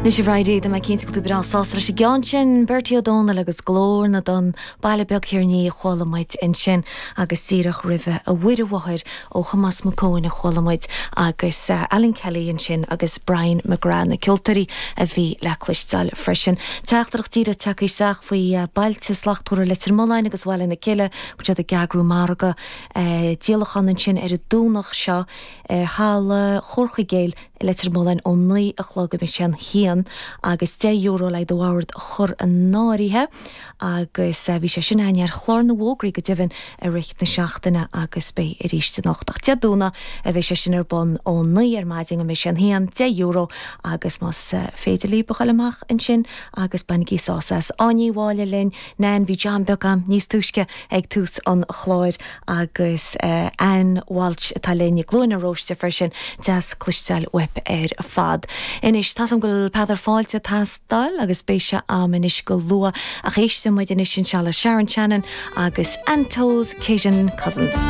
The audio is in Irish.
Anois a Bhridie, tá mé cinnte go bhfuil tú breá sásta leis an gceann sin, Bertie Ó Dónaill agus Glór na dTonn, Baile Beag Thiar an Fhia a chuala muid ansin agus díreach roimhe A Mhuire Mháthair ó Thomás Mac Eoin a chuala muid agus Alan Kelly ansin agus Brian McGrath na ceoltóirí a bhí le cloisteáil freisin. Teachtaireacht díreach tagtha isteach faoi Bailte Slachtmhara Leitir Mealláin agus Bhaile na Cille go bhfuil siad ag eagrú margadh díolachán ansin ar an Domhnach seo i Halla Chomhar Chuigéil i Leitir Mealláin ó 9 a chlog go mbeidh sé an haon agus €10 le do bhord a chur in áirithe agus bhí sé sin againn ar chlár na bhfógraí go deimhin i rith na seachtaine agus beidh arís anocht ach Dé Domhnaigh a bheidh sé sin ar bun ó 9 ar maidin go mbeidh sé an haon, €10 agus más féidir libh a ghoil amach ansin agus bainigí sásamh as. Áine Uí Mháille linn, Nan, bhí jam beag agam níos túisce ag tús an chláir agus Ann Walsh atá linn i gCluain na Róiste freisin, deas cloisteáil uaibh ar fad. Anois, tá's agam go bhfuil Peadar Fáilte ag teastáil agus beidh sé a'm anois go luath ach éistfidh muid anois anseo le Sharon Shannon agus Anto's Cajun Cousins.